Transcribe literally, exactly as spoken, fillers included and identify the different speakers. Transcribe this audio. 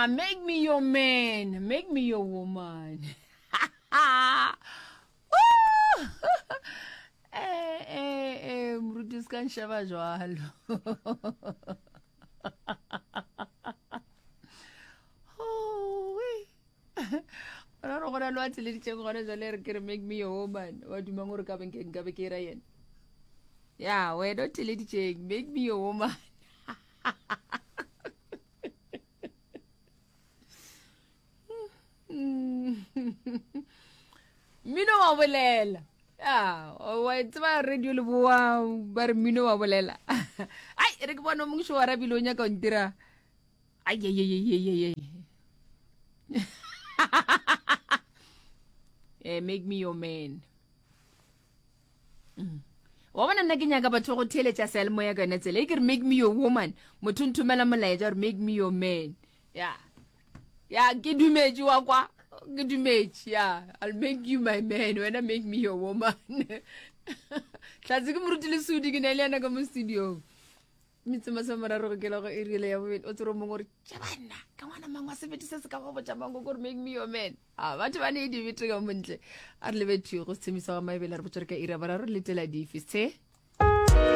Speaker 1: Yeah, make me your man, make me your woman. Eh, eh, eh, moruti se ka nšeba jwalo. Gona gore gona le wa theleditšeng gona jwale re ke re make me your woman. Wa dumang gore ka be nka be ke ra yena. Ya, wena o theleditšeng, make me your woman. Mmino wa bolela. Ya, wa tseba radio le boa ba re mmino wa bolela. Ai, re ke bona mongwe sho wa rabile o nyaka o ntira. Ai ai ai ai ai. Eh, make me your man. Mm. Wa bona nna ke nyaka batho go theeletša seyalemoya ka yone tsela e ke re make me your woman. Motho nthomela molaetša gore make me your man. Ya. Ya, ke dumetše wa kwa. Ke dumetše. Ya, I'll make you my man. Wena make me your woman. Tlatse ke moruti Lesodi ke na le yena ka mo studiong. Metse masomeraro go kela go iri ya bobedi o tsere mongwe gore tše banna ka ngwana mang wa sebete se se ka go botša mango gore make me your man. A batho ba ne dibete ka montle. A re lebetšwe go sethemisa ga maebele re botša re ka iri ya boraro letela dife se.